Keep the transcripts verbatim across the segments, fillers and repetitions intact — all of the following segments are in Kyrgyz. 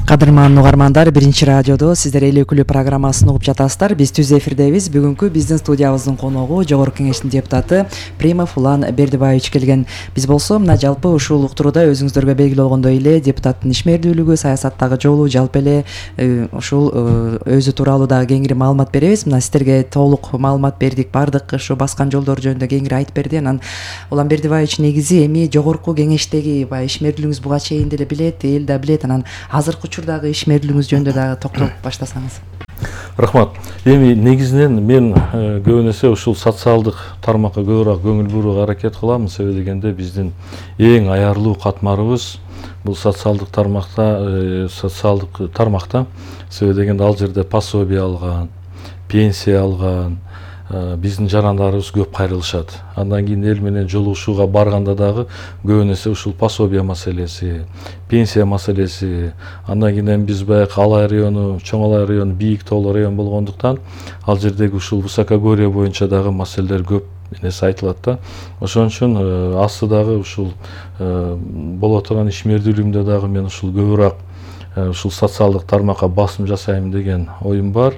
Кадырман угармандар, биринчи радиодо сиздер эл өкүлү программасын угуп жатасыздар. Биз түз эфирдебиз. Бүгүнкү биздин студиябыздын коногу Жогорку Кеңештин депутаты Примов Улан Бердибаевич келген. Биз болсо мына жалпы ушул уктурууда өзүңүздөргө белгилүү болгондой эле депутаттын ишмердүүлүгү, саясаттагы жолу, жалпы эле ушул өзү тууралуу дагы кеңири маалымат беребиз. Мына сиздерге толук маалымат бердик, бардык ушу баскан жолдор жөнүндө кеңири айтып берди. Анан Улан Бердибаевич негизи эми Жогорку Кеңештеги баягы ишмердүүлүгүңүз буга чейин деле билет, эл да билет. Анан азыркы учурдагы ишмердүүлүгүңүз жөнүндө дагы токтолуп баштасаңыз. Рахмат. Эми негизинен мен көбүн эсе ушул социалдык тармакка көбүрөөк көңүл бурууга аракет кылам. Себеби дегенде биздин эң аярлуу катмарыбыз бул социалдык тармакта, социалдык тармакта. Себеби дегенде ал жерде пособие алган, пенсия алган биздин жарандарыбыз көп кайрылышат. Андан кийин эл менен жолугушууга барганда дагы көбүн эсе ушул пособие маселеси, пенсия маселеси, андан кийин биз баягы Алай району, Чоң Алай району бийик тоолуу район болгондуктан ал жердеги ушул высокогорье боюнча дагы маселелер көп нерсе айтылат да. Ошон үчүн асты дагы ушул боло турган ишмердүүлүгүмдө дагы мен ушул көбүрөөк ушул социалдык тармакка басым жасайм деген оюм бар.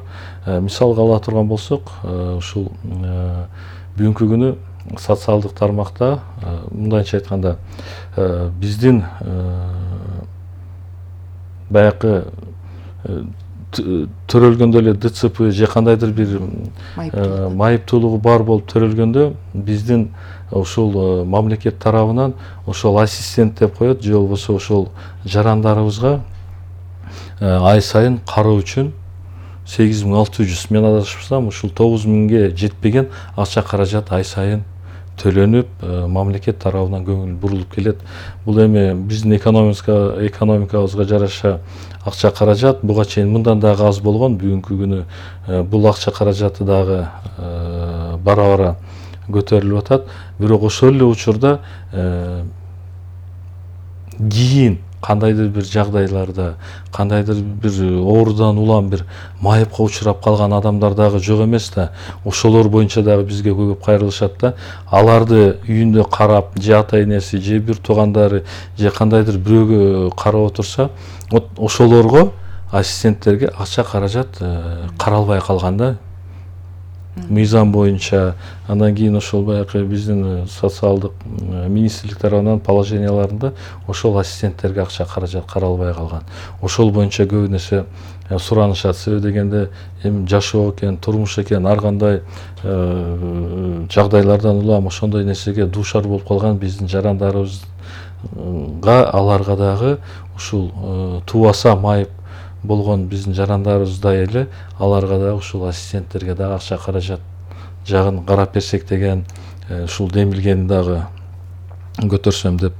Мисалга ала турган болсок, ушул бүгүнкү күнү социалдык тармакта мындайча айтканда биздин баягы төрөлгөндө эле ДЦП же кандайдыр бир майыптуулугу бар болуп төрөлгөндө биздин ушул мамлекет тарабынан ошол ассистент деп коет, же болбосо ошол жарандарыбызга ай сайын кароо үчүн сегиз миң алты жүз, мен адашпасам ушул тогуз миңге жетпеген акча каражат ай сайын төлөнүп, мамлекет тарабынан көңүл бурулуп келет. Бул эми биздин экономика экономикабызга жараша акча каражат буга чейин мындан дагы аз болгон. Бүгүнкү күнү бул акча каражаты дагы бара-бара көтөрүлүп атат. Бирок ошол эле учурда кийин кандайдыр бир жагдайларда, кандайдыр бир оорудан улам бир майыпка учурап калган адамдар дагы жок эмес да. Ошолор боюнча дагы бизге көп кайрылышат да. Аларды үйүндө карап, же ата энеси, же бир туугандары, же кандайдыр бирөөгө карап отурса, ошолорго ассистенттерге акча каражат каралбай калган да. Мыйзам боюнча. Андан кийин ошол баягы биздин социалдык министрлик тарабынан положенияларында ошол ассистенттерге акча каражат каралбай калган. Ошол боюнча көбүн эсе суранышат. Себеби дегенде эми жашоо экен, турмуш экен, ар кандай жагдайлардан улам ошондой нерсеге дуушар болуп калган биздин жарандарыбызга, аларга дагы ушул туубаса майып болгон биздин жарандарыбыздай эле аларга дагы ушул ассистенттерге дагы акча каражат жагын карап берсек деген ушул демилгени дагы көтөрсөм деп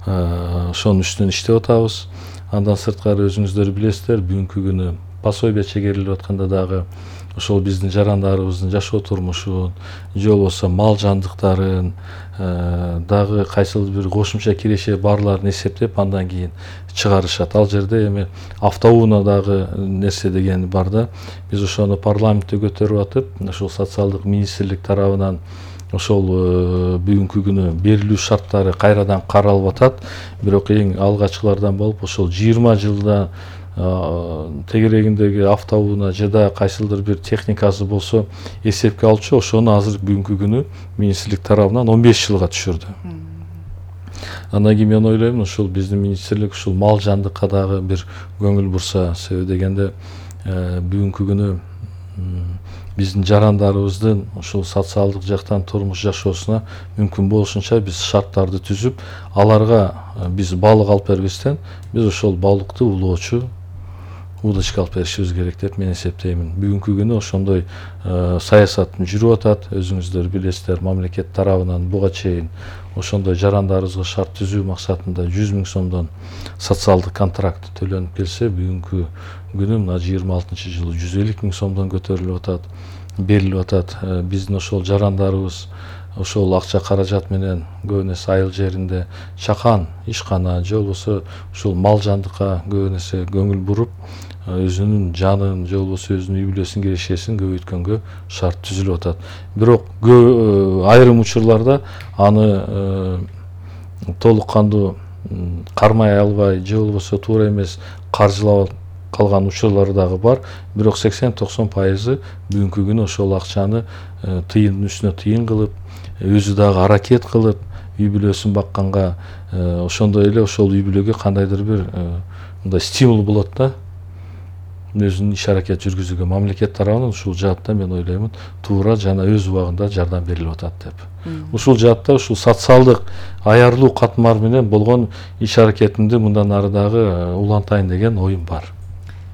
ошонун үстүнөн иштеп атабыз. Андан сырткары өзүңүздөр билесиздер, бүгүнкү күнү пособие чегерилип атканда дагы ошол биздин жарандарыбыздын жашоо турмушун, же болбосо мал жандыктарын дагы кайсыл бир кошумча киреше барларын эсептеп андан кийин чыгарышат. Ал жерде эми автоунаа дагы нерсе деген бар да. Биз ошону парламентте көтөрүп атып, ошол социалдык министрлик тарабынан ошол бүгүнкү күнү берилүү шарттары кайрадан каралып атат. Бирок эң алгачкылардан болуп ошол жыйырма жылда тегерегиндеги автоунаа же да кайсылдыр бир техникасы болсо эсепке алчу, ошону азыр бүгүнкү күнү министрлик тарабынан он беш жылга түшүрдү. Андан кийин мен ойлойм, ушул биздин министрлик ушул мал жандыкка дагы бир көңүл бурса. Себеби дегенде бүгүнкү күнү биздин жарандарыбыздын ушул социалдык жактан турмуш жашоосуна мүмкүн болушунча биз шарттарды түзүп, аларга биз балык алып бербестен, биз ошол балыкты улоочу удочка алып беришибиз керек деп мен эсептеймин. Бүгүнкү күнү ошондой саясат жүрүп атат. Өзүңүздөр билесиздер, мамлекет тарабынан буга чейин ошондой жарандарыбызга шарт түзүү максатында жүз миң сомдон социалдык контракт төлөнүп келсе, бүгүнкү күнү мына жыйырма алтынчы жылы жүз элүү миң сомдон көтөрүлүп атат, берилип атат. Биздин ошол жарандарыбыз ошол акча каражат менен көбүн эсе айыл жеринде чакан, ишкана же болбосо ушул мал жандыкка көбүн эсе көңүл буруп, өзүнүн жанын же болбосо өзүнүн үй бүлөсүн кирешесин көбөйткөнгө шарт түзүлүп атат. Бирок айрым учурларда аны толук кандуу кармай албай же болбосо туура эмес каржылап калган учурлар дагы бар. Бирок сексен токсон пайызы бүгүнкү күнү ошол акчаны тыйындын үстүнө тыйын кылып, өзү дагы аракет кылып, үй бүлөсүн бакканга, ошондой эле ошол үй бүлөгө кандайдыр бир мындай стимул болот да, өзүнүн иш аракет жүргүзүүгө. Мамлекет тарабынан ушул жаатта мен ойлоймун туура жана өз убагында жардам берилип атат деп. Ушул жаатта ушул социалдык аярлуу катмар менен болгон иш аракетимди мындан ары дагы улантайын деген оюм бар.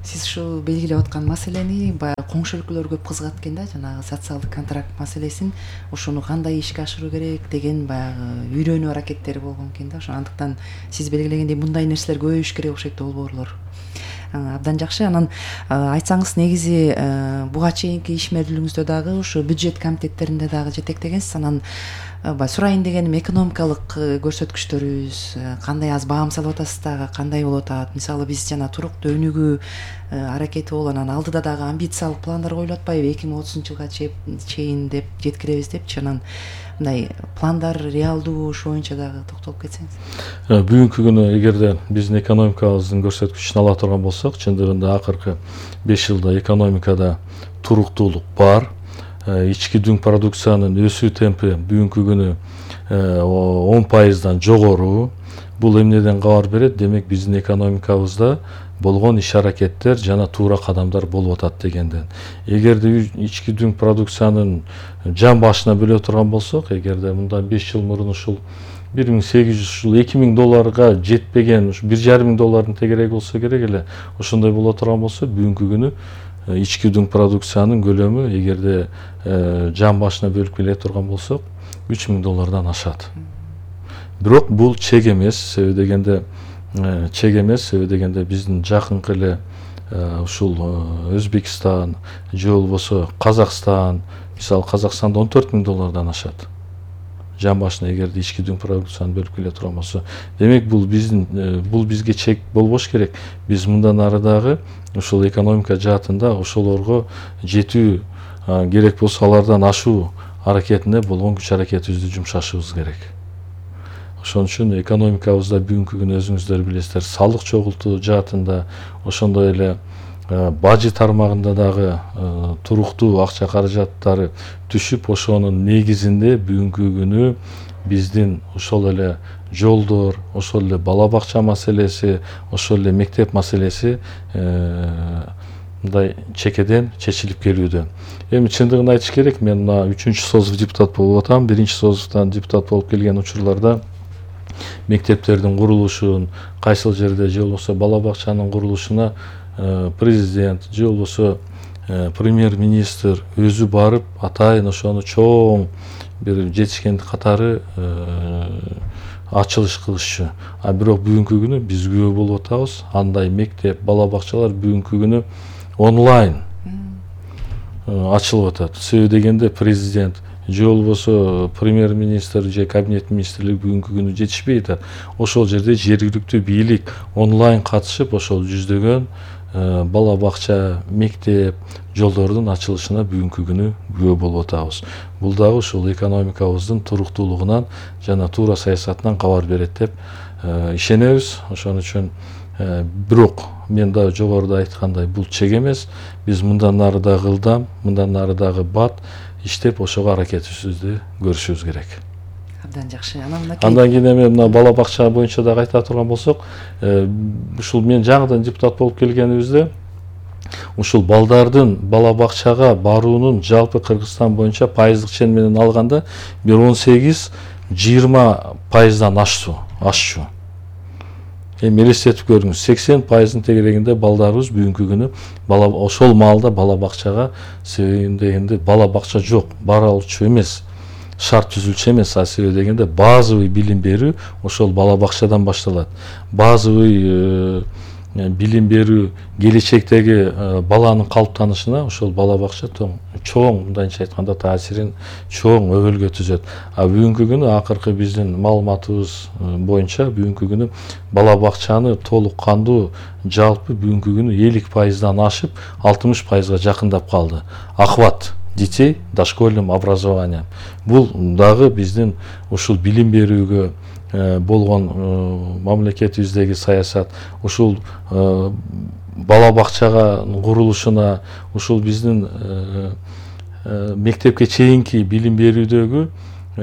Сиз ушул белгилеп аткан маселени баягы коңшу өлкөлөр көп кызыгат экен да, жанагы социалдык контракт маселесин, ошону кандай ишке ашыруу керек деген баягы үйрөнүү аракеттери болгон экен да. Ошондуктан сиз белгилегендей мындай нерселер көбөйүш керек окшойт долбоорлор. Абдан жакшы. Анан айтсаңыз, негизи буга чейинки ишмердүүлүгүңүздө дагы ушу бюджет комитеттеринде дагы жетектегенсиз. Анан сурайын дегеним, экономикалык көрсөткүчтөрүбүз кандай, аз баам салып атасыз дагы, кандай болуп атат? Мисалы биз жана туруктуу өнүгүү аракети болуп, анан алдыда дагы амбициялык пландар коюлуп атпайбы, эки миң отузунчу жылга чейин деп жеткиребиз депчи. Анан мындай пландар реалдуу, ошо боюнча дагы токтолуп кетсеңиз. Бүгүнкү күнү эгерде биздин экономикабыздын көрсөткүчүн ала турган болсок, чындыгында акыркы беш жылда экономикада туруктуулук бар. Ички дүң продукциянын өсүү темпи бүгүнкү күнү он пайыздан жогору. Бул эмнеден кабар берет? Демек биздин экономикабызда болгон иш аракеттер жана туура кадамдар болуп атат дегенден. Эгерде ички дүң продукциянын жан башына бөлө турган болсок, эгерде мындан беш жыл мурун ушул бир миң сегиз жүз ушул эки миң долларга жетпеген, ушу бир жарым миң доллардын тегереги болсо керек эле, ошондой боло турган болсо, бүгүнкү күнү ички дүң продукциянын көлөмү эгерде жан башына бөлүп келе турган болсок, үч миң доллардан ашат. Бирок бул чек эмес, себеби дегенде чек эмес, себеби дегенде биздин жакынкы эле ушул Өзбекстан же болбосо Казакстан, мисалы Казакстанда он төрт миң доллардан ашат. Жан башына эгерде ички дүң продукцияны бөлүп келе турган болсо, демек бул биздин бул бизге чек болбош керек. Биз мындан ары дагы ушул экономика жаатында ошолорго жетүү керек болсо, алардан ашуу аракетине болгон күч аракетибизди жумшашыбыз керек. Ошон үчүн экономикабызда бүгүнкү күнү өзүңүздөр билесиздер, салык чогултуу жаатында, ошондой эле бажы тармагында дагы туруктуу акча каражаттары түшүп, ошонун негизинде бүгүнкү күнү биздин ошол эле жолдор, ошол эле бала бакча маселеси, ошол эле мектеп маселеси мындай чекеден чечилип келүүдө. Эми чындыгын айтыш керек, мен мына үчүнчү созов депутат болуп атам. Биринчи созовтан депутат болуп келген учурларда мектептердин курулушун, кайсыл жерде же болбосо бала бакчанын курулушуна президент же болбосо премьер-министр өзү барып атайын ошону чоң бир жетишкендик катары ачылыш кылышчу. А бирок бүгүнкү күнү биз күбө болуп атабыз, андай мектеп, бала бакчалар бүгүнкү күнү онлайн ачылып атат. Себеби дегенде президент же болбосо премьер-министр же кабинет министрлиги бүгүнкү күнү жетишпей атат. Ошол жерде жергиликтүү бийлик онлайн катышып, ошол жүздөгөн бала бакча, мектеп, жолдордун ачылышына бүгүнкү күнү күбө болуп атабыз. Бул дагы ушул экономикабыздын туруктуулугунан жана туура саясатынан кабар берет деп ишенебиз. Ошон үчүн бирок мен да жогоруда айткандай, бул чек эмес. Биз мындан ары дагы ылдам, мындан ары дагы бат иштеп ошого аракетибизди көрүшүбүз керек. Абдан жакшы. Анан кийин эми мына бала бакча боюнча дагы айта турган болсок, ушул мен жаңыдан депутат болуп келгенибизде ушул балдардын бала бакчага баруунун жалпы Кыргызстан боюнча пайыздык чен менен алганда бир он сегиз жыйырма пайыздан ашчу. ашчу. Эми элестетип көрүңүз, сексен пайыздын тегерегинде балдарыбыз бүгүнкү күнү бала ошол маалда бала бакчага, себеби дегенде бала бакча жок, бара алчу эмес, шарт түзүлчү эмес. А себеби дегенде базовый билим берүү ошол бала бакчадан башталат. Базовый билим берүү келечектеги баланын калыптанышына ошол бала бакча чоң, мындайча айтканда, таасирин чоң өбөлгө түзөт. А бүгүнкү күнү акыркы биздин маалыматыбыз боюнча бүгүнкү күнү бала бакчаны толук кандуу жалпы бүгүнкү күнү элүү пайыздан ашып алтымыш пайызга жакындап калды. Охват детей дошкольным образованием. Бул дагы биздин ушул билим берүүгө, болгон мамлекетибиздеги саясат, ушул бала бакчага курулушуна, ушул биздин мектепке чейинки билим берүүдөгү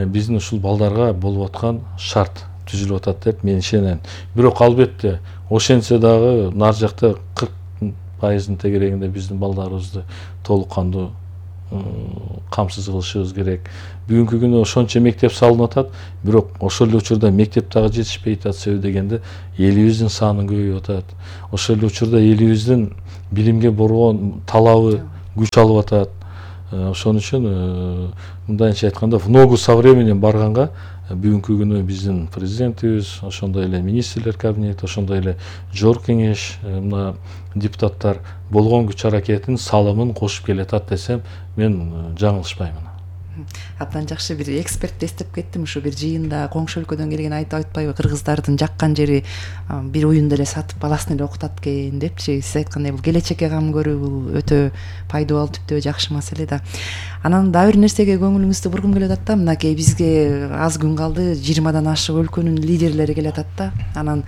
биздин ушул балдарга болуп аткан шарт түзүлүп атат деп мен ишенем. Бирок албетте ошентсе дагы нар жакта кырк пайыздын тегерегинде биздин балдарыбызды толук кандуу камсыз кылышыбыз керек. Бүгүнкү күнү ошончо мектеп салынып атат, бирок ошол эле учурда мектеп дагы жетишпей атат. Себеби дегенде элибиздин саны көбөйүп атат. Ошол эле учурда элибиздин билимге болгон талабы күч алып атат. Ошон үчүн мындайча айтканда в ногу со временем барганга бүгүнкү күнү биздин президентибиз, ошондой эле министрлер кабинети, ошондой эле жогорку кеңеш, мына депутаттар болгон күч аракетин, салымын кошуп келатат десем, мен жаңылышпаймын. Абдан жакшы бир экспертти эстеп кеттим. Ушу бир жыйында коңшу өлкөдөн келген айтып айтпайбы, кыргыздардын жаккан жери бир уюнду эле сатып баласын эле окутат экен депчи. Сиз айткандай бул келечекке кам көрүү бул өтө пайдалуу, түптө жакшы маселе да. Анан дагы бир нерсеге көңүлүңүздү бургум келип атат да. Мынакей бизге аз күн калды, жыйырмадан ашык өлкөнүн лидерлери келип атат да. Анан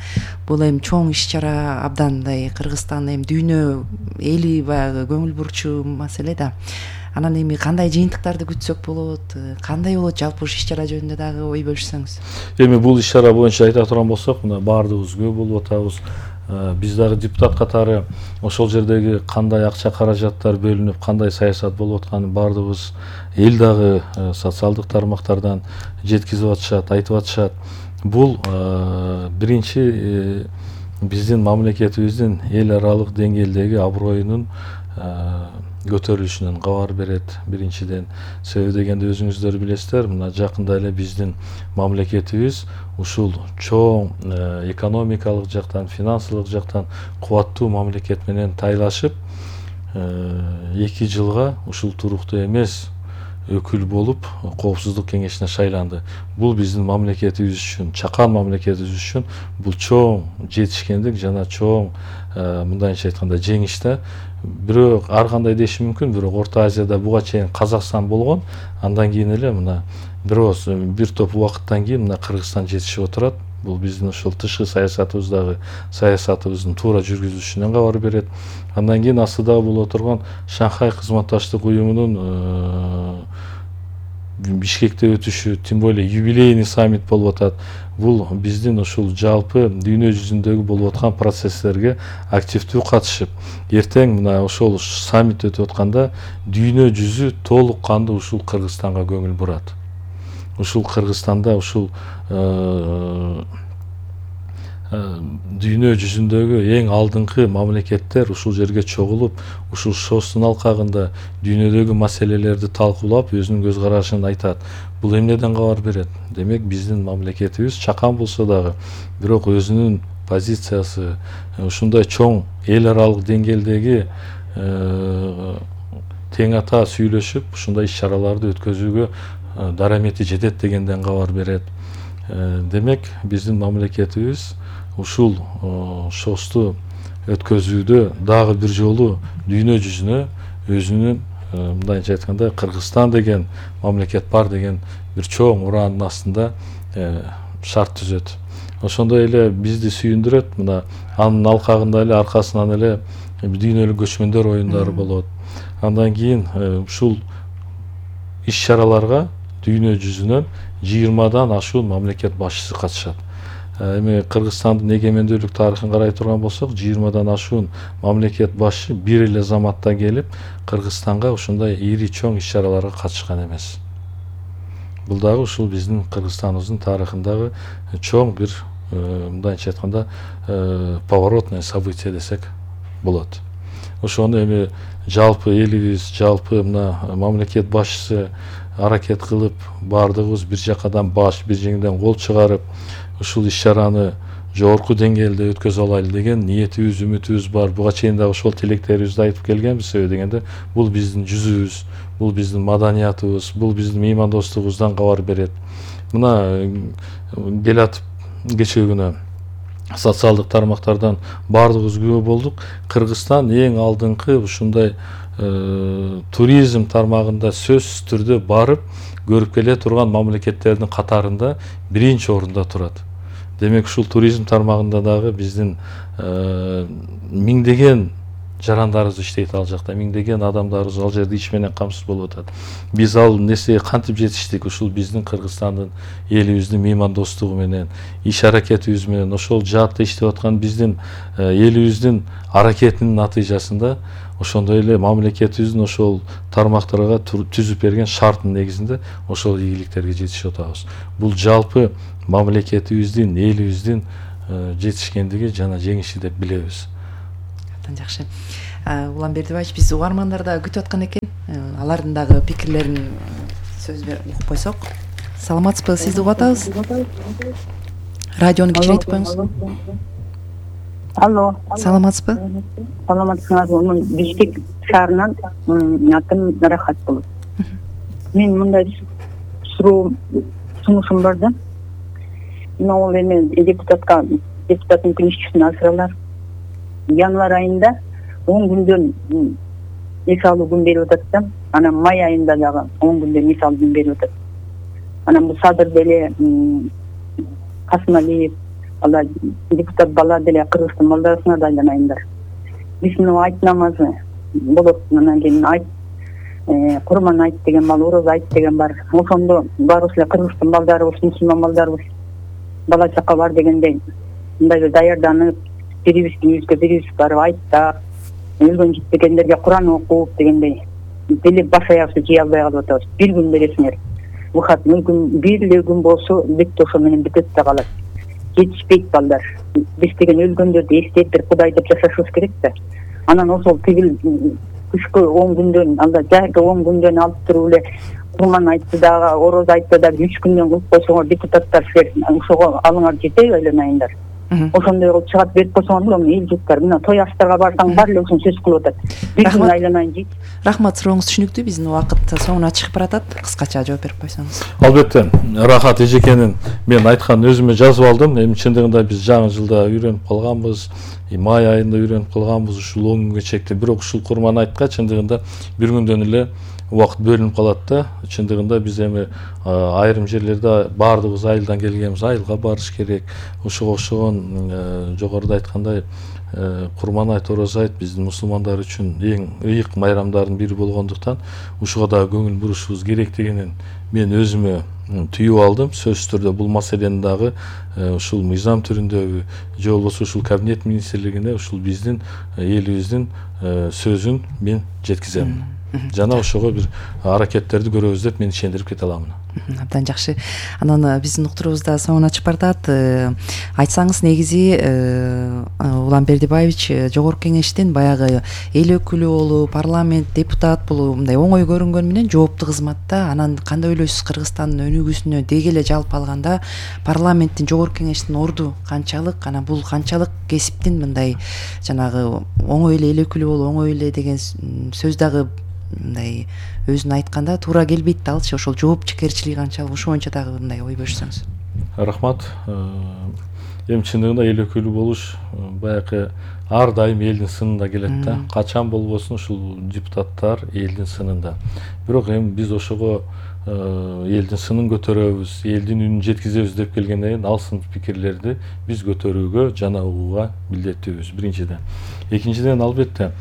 бул эми чоң иш-чара, абдан мындай Кыргызстан эми дүйнө эли баягы көңүл бурчу маселе да. Анан эми кандай жыйынтыктарды күтсөк болот, кандай болот жалпы ушу иш-чара жөнүндө дагы ой бөлүшсөңүз. Эми бул иш-чара боюнча айта турган болсок, мына баардыгыбыз күбө болуп атабыз. Биз дагы депутат катары ошол жердеги кандай акча каражаттар бөлүнүп, кандай саясат болуп атканын баардыгыбыз эл дагы социалдык тармактардан жеткизип атышат, айтып атышат. Бул биринчи биздин мамлекетибиздин эл аралык деңгээлдеги аброюнун көтөрүлүшүнөн кабар берет биринчиден. Себеби дегенде өзүңүздөр билесиздер, мына жакында эле биздин мамлекетибиз ушул чоң экономикалык жактан, финансылык жактан кубаттуу мамлекет менен тайлашып, эки жылга ушул туруктуу эмес өкүл болуп коопсуздук кеңешине шайланды. Бул биздин мамлекетибиз үчүн, чакан мамлекетибиз үчүн бул чоң жетишкендик жана чоң мындайча айтканда жеңиш да. Бирок ар кандай деши мүмкүн, бирок Орто Азияда буга чейин Казакстан болгон, андан кийин эле мына бирөөс бир топ убакыттан кийин мына Кыргызстан жетишип отурат. Бул биздин ушул тышкы саясатыбыздагы саясатыбыздын туура жүргүзүлүшүнөн кабар берет. Андан кийин астыда боло турган Шанхай кызматташтык уюмунун Бишкекте өтүшү, тем более юбилейный саммит болуп атат. Бул биздин ушул жалпы дүйнө жүзүндөгү болуп аткан процесстерге активдүү катышып, эртең мына ошол саммит өтүп атканда дүйнө жүзү толук кандуу ушул Кыргызстанга көңүл бурат. Ушул Кыргызстанда ушул дүйнө жүзүндөгү эң алдыңкы мамлекеттер ушул жерге чогулуп, ушул шостун алкагында дүйнөдөгү маселелерди талкуулап, өзүнүн көз карашын айтат. Бул эмнеден кабар берет? Демек биздин мамлекетибиз чакан болсо дагы, бирок өзүнүн позициясы ушундай чоң эл аралык деңгээлдеги тең ата сүйлөшүп, ушундай иш-чараларды өткөзүүгө дарамети жетет дегенден кабар берет. Демек биздин мамлекетибиз ушул шосту өткөзүүдө дагы бир жолу дүйнө жүзүнө өзүнүн мындайча айтканда Кыргызстан деген мамлекет бар деген бир чоң ураанын астында шарт түзөт. Ошондой эле бизди сүйүндүрөт, мына анын алкагында эле аркасынан эле дүйнөлүк көчмөндөр оюндары болот. Андан кийин ушул иш-чараларга дүйнө жүзүнөн жыйырмадан ашуун мамлекет башчысы катышат. Эми Кыргызстандын эгемендүүлүк тарыхын карай турган болсок, жыйырмадан ашуун мамлекет башчы бир эле заматта келип Кыргызстанга ушундай ири чоң иш-чараларга катышкан эмес. Бул дагы ушул биздин Кыргызстаныбыздын тарыхындагы чоң бир мындайча айтканда поворотное событие десек болот. Ошону эми жалпы элибиз, жалпы мына мамлекет башчысы аракет кылып, баардыгыбыз бир жакадан баш, бир жеңден кол чыгарып, ушул иш-чараны жогорку деңгээлде өткөзө алайлы деген ниетибиз, үмүтүбүз бар. Буга чейин дагы ошол тилектерибизди айтып келгенбиз. Себеби дегенде бул биздин жүзүбүз, бул биздин маданиятыбыз, бул биздин меймандостугубуздан кабар берет. Мына келатып кечээ күнү социалдык тармактардан баардыгыбыз күбө болдук. Кыргызстан эң алдыңкы ушундай туризм тармагында сөзсүз түрдө барып көрүп келе турган мамлекеттердин катарында биринчи орунда турат. Демек ушул туризм тармагында дагы биздин миңдеген жарандарыбыз иштейт ал жакта, миңдеген адамдарыбыз ал жерде иш менен камсыз болуп атат. Биз ал нерсеге кантип жетиштик? Ушул биздин Кыргызстандын элибиздин меймандостугу менен, иш аракетибиз менен, ошол жаатта иштеп аткан биздин элибиздин аракетинин натыйжасында ошондой эле мамлекетибиздин ошол тармактарга түзүп берген шарттын негизинде ошол ийгиликтерге жетишип атабыз. Бул жалпы мамлекетибиздин, элибиздин жетишкендиги жана жеңиши деп билебиз. Абдан жакшы. Улан Бердибаевич, биз угармандар да күтүп аткан экен. Алардын дагы пикирлерин сөз берип угуп койсок. Саламатсызбы? Сизди угуп атабыз. Радиону кичирейтип коюңуз. Алло. Саламатсызбы? Саламатсызбы. Бишкек шаарынан атым Рахат болот. Мен мындай суроо сунушум бар да. Могул эме депутатка депутаттын кеңешчисин асыралар. Январь айында он күндөн мисалы күн берип атат да, анан май айында дагы он күндөн мисалы күн берип атат. Анан бул Садыр деле, Касымалиев, ала депутат бала деле Кыргызстан балдарына да айланайындар. Биз мына айт намазы болот, анан кийин айт, Курман айт деген бар, Ороз айт деген бар. Ошондо баарыбыз эле Кыргызстан балдарыбыз, мусулман балдарыбыз бала чака бар дегендей мындай даярданып, бирибиздин үйүбүзгө бирибиз барып айттап, өлгөн жетпегендерге Куран окуп дегендей деле баш аягыбызды жыя албай калып атабыз. Бир күн бересиңер. Выход мүмкүн бир эле күн болсо бүт ошо менен бүтөт да калат. Жетишпейт балдар. Биз деген өлгөндөрдү эстеп бир Кудай деп жашашыбыз керек да. Анан ошол тигил кышкы он күндөн, анда жайкы он күндөн алып туруп эле Курман айтты дагы, Ороз айтты дагы үч күндөн кылып койсоңор депутаттар силер ошого алыңар жетеби айланайындар. Ошондой кылып чыгат берип койсоңор болом, эл жуттар. Мына той аштарга барсаң бар эле ушун сөз кылып атат. Бир күн айланайын дейт. Рахмат, сурооңуз түшүнүктүү. Биздин убакыт соңуна чыгып баратат. Кыскача жооп берип койсоңуз. Албетте, Рахат эжекенин мен айткан өзүмө жазып алдым. Эми чындыгында биз жаңы жылда үйрөнүп калганбыз. Май айында үйрөнүп калганбыз ушул он күнгө чекти. Бирок ушул Курман айтка чындыгында бир күндөн эле убакыт бөлүнүп калат да. Чындыгында биз эми айрым жерлерде баардыгыбыз айылдан келгенбиз, айылга барыш керек. Ошого окшогон жогоруда айткандай Курман айт, Ороз айт биздин мусулмандар үчүн эң ыйык майрамдардын бири болгондуктан ушуга да көңүл бурушубуз керектигинин мен өзүмө түйүп алдым. Сөзсүз түрдө бул маселени дагы ушул мыйзам түрүндөбү же болбосо ушул кабинет министрлигине ушул биздин элибиздин сөзүн мен жеткизем. Жана ошого бир аракеттерди көрөбүз деп мен ишендирип кете аламын. Абдан жакшы. Анан биздин уктуруубуз да соңуна чыгып баратат. Айтсаңыз негизи Улан Бердибаевич жогорку кеңештин баягы эл өкүлү болуп, парламент депутат болуп мындай оңой көрүнгөнү менен жооптуу кызматта. Анан кандай ойлойсуз, Кыргызстандын өнүгүүсүнө деги эле жалпы алганда парламенттин жогорку кеңештин орду канчалык, анан бул канчалык кесиптин мындай жанагы оңой эле эл өкүлү болуп, оңой эле деген сөз дагы мындай өзүн айтканда туура келбейт да, алчы ошол жоопкерчилиги канчалык, ошо боюнча дагы мындай ой бөлүшсөңүз. Рахмат. Эми чындыгында эл өкүлү болуш баягы ар дайым элдин сынында келет да. Качан болбосун ушул депутаттар элдин сынында. Бирок эми биз ошого элдин сынын көтөрөбүз, элдин үнүн жеткизебиз деп келгенден кийин ал сын пикирлерди биз көтөрүүгө жана угууга милдеттүүбүз биринчиден. Экинчиден албетте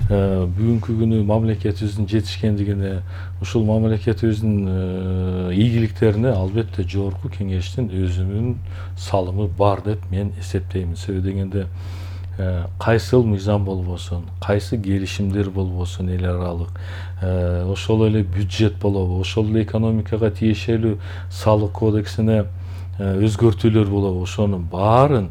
бүгүнкү күнү мамлекетибиздин жетишкендигине, ушул мамлекетибиздин ийгиликтерине албетте жогорку кеңештин өзүнүн салымы бар деп мен эсептеймин. Себеби дегенде кайсыл мыйзам болбосун, кайсы келишимдер болбосун эл аралык, ошол эле бюджет болобу, ошол эле экономикага тиешелүү салык кодексине өзгөртүүлөр болобу, ошонун баарын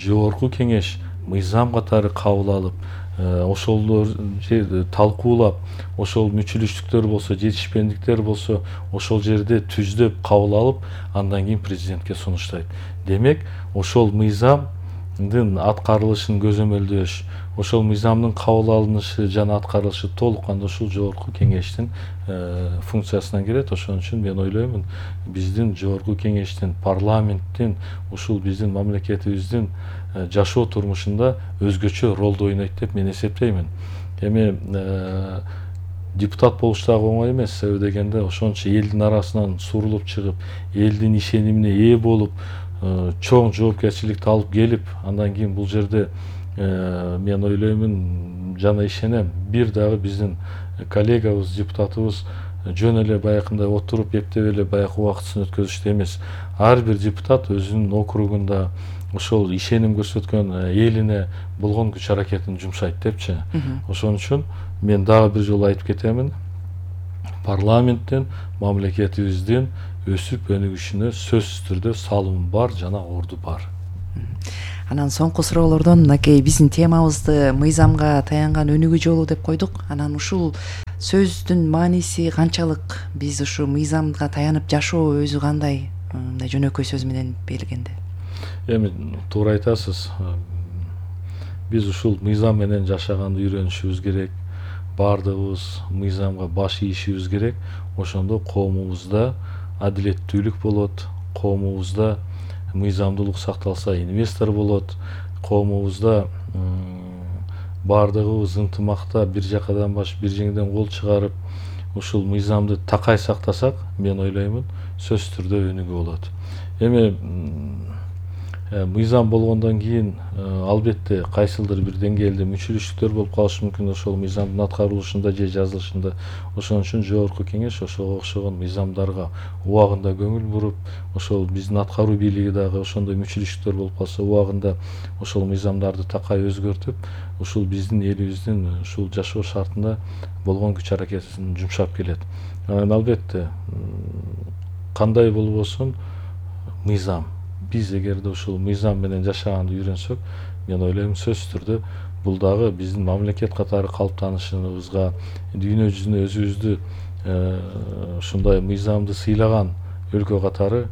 жогорку кеңеш мыйзам катары кабыл алып, ошол жерди талкуулап, ошол мүчүлүштүктөр болсо, жетишпендиктер болсо, ошол жерде түздөп кабыл алып, андан кийин президентке сунуштайт. Демек, ошол мыйзамдын аткарылышын көзөмөлдөш, ошол мыйзамдын кабыл алынышы жана аткарылышы толук кандуу ушул жогорку кеңештин функциясынан келет. Ошон үчүн мен ойлоймун, биздин жогорку кеңештин, парламенттин, ушул биздин мамлекетибиздин жашоо турмушунда өзгөчө ролду ойнойт деп мен эсептеймин. Эми депутат болуш дагы оңой эмес. Себеби дегенде ошончо элдин арасынан сурулуп чыгып, элдин ишенимине ээ болуп, чоң жоопкерчиликти алып келип, андан кийин бул жерде мен ойлоймун жана ишенем, бир дагы биздин коллегабыз, депутатыбыз жөн эле баягындай отуруп эптеп эле баягы убактысын өткөзүштү эмес. Ар бир депутат өзүнүн округунда ошол ишеним көрсөткөн элине болгон күч аракетин жумшайт депчи. Ошон үчүн мен дагы бир жолу айтып кетемин, парламенттин, мамлекетибиздин өсүп өнүгүшүнө сөзсүз түрдө салымы бар жана орду бар. Анан соңку суроолордон мынакей биздин темабызды мыйзамга таянган өнүгүү жолу деп койдук. Анан ушул сөздүн мааниси канчалык? Биз ушу мыйзамга таянып жашоо өзү кандай? Мындай жөнөкөй сөз менен белгенде. Эми туура айтасыз. Биз ушул мыйзам менен жашаганды үйрөнүшүбүз керек. Бардыгыбыз мыйзамга баш ийишибиз керек. Ошондо коомубузда адилеттүүлүк болот, коомубузда мыйзамдуулук сакталса, инвестор болот, коомубузда бардыгыбыз ынтымакта бир жакадан баш бир жеңден кол чыгарып, ушул мыйзамды такай сактасак, мен ойлоймун, сөзсүз түрдө өнүгүү болот. Эми мыйзам болгондон кийин албетте кайсылдыр бир деңгээлде мүчүлүштүктөр болуп калышы мүмкүн ошол мыйзамдын аткарылышында же жазылышында. Ошон үчүн жогорку кеңеш ошого окшогон мыйзамдарга убагында көңүл буруп, ошол биздин аткаруу бийлиги дагы ошондой мүчүлүштүктөр болуп калса, убагында ошол мыйзамдарды такай өзгөртүп, ушул биздин элибиздин ушул жашоо шартында болгон күч аракетин жумшап келет. Анан албетте кандай болбосун мыйзам. Биз эгерде ушул мыйзам менен жашаганды үйрөнсөк, мен ойлойм сөзсүз түрдө бул дагы биздин мамлекет катары калыптанышыбызга, дүйнө жүзүнө өзүбүздү ушундай мыйзамды сыйлаган өлкө катары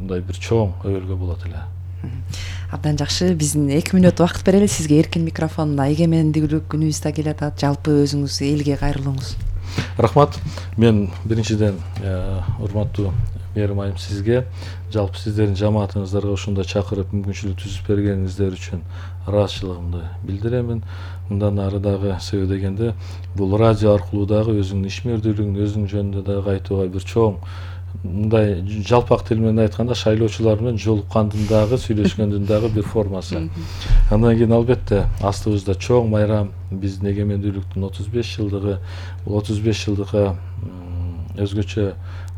мындай бир чоң өбөлгө болот эле. Абдан жакшы. Биздин эки мүнөт убакыт берели сизге. Эркин микрофон. Эгемендүүлүк күнүбүз да келатат. Жалпы өзүңүз элге кайрылыңыз. Рахмат. Мен биринчиден урматтуу Мээрим айым сизге, жалпы сиздердин жамаатыңыздарга ушундай чакырып мүмкүнчүлүк түзүп бергениңиздер үчүн ыраазычылыгымды билдиремин. Мындан ары дагы себеби дегенде бул радио аркылуу дагы өзүңдүн ишмердүүлүгүн өзүң жөнүндө дагы айтууга бир чоң, мындай жалпак тил менен айтканда шайлоочулар менен жолуккандын дагы сүйлөшкөндүн дагы бир формасы. Андан кийин албетте астыбызда чоң майрам биздин эгемендүүлүктүн отуз беш жылдыгы. Бул отуз беш жылдыкка өзгөчө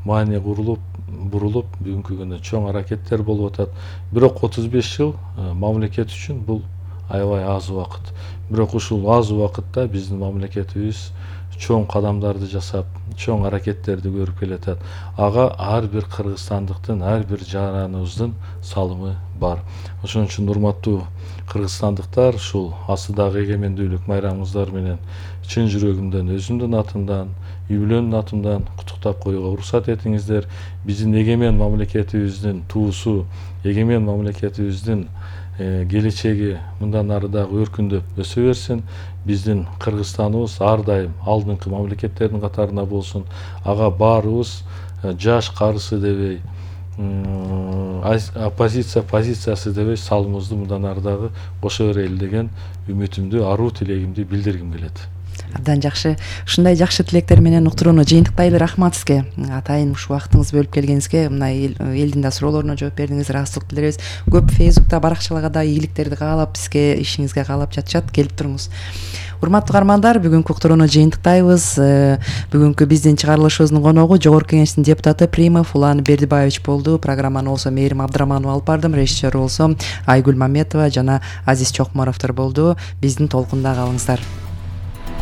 маани курулуп бурулуп бүгүнкү күндө чоң аракеттер болуп атат. Бирок отуз беш жыл мамлекет үчүн бул аябай аз убакыт. Бирок ушул аз убакытта биздин мамлекетибиз чоң кадамдарды жасап, чоң аракеттерди көрүп келатат. Ага ар бир кыргызстандыктын, ар бир жараныбыздын салымы бар. Ошон үчүн урматтуу кыргызстандыктар, ушул астыдагы эгемендүүлүк майрамыңыздар менен чын жүрөгүмдөн, өзүмдүн атымдан, үй бүлөнүн атымдан куттуктап коюуга уруксат этиңиздер. Биздин эгемен мамлекетибиздин туусу, эгемен мамлекетибиздин келечеги мындан ары дагы өркүндөп өсө берсин. Биздин Кыргызстаныбыз ар дайым алдыңкы мамлекеттердин катарында болсун. Ага баарыбыз жаш карысы дебей, оппозиция позициясы дебей салымыбызды мындан ары дагы кошо берели деген үмүтүмдү, аруу тилегимди билдиргим келет. Абдан жакшы. Ушундай жакшы тилектер менен уктурууну жыйынтыктайлы. Рахмат сизге. Атайын ушул убактыңызды бөлүп келгениңизге, мына элдин да суроолоруна жооп бердиңиз, ыраазычылык билдиребиз. Көп Фейсбукта, баракчаларга да ийгиликтерди каалап, сизге ишиңизге каалап жатышат. Келип туруңуз. Урматтуу каармандар, бүгүнкү уктурууну жыйынтыктайбыз. Бүгүнкү биздин чыгарылышыбыздын коногу Жогорку Кеңештин депутаты Примов Улан Бердибаевич болду. Программаны болсо Мээрим Абдыраманова алып бардым. Режиссер болсо Айгүл Маметова жана Азиз Чокморовдор болду. Биздин толкунда калыңыздар.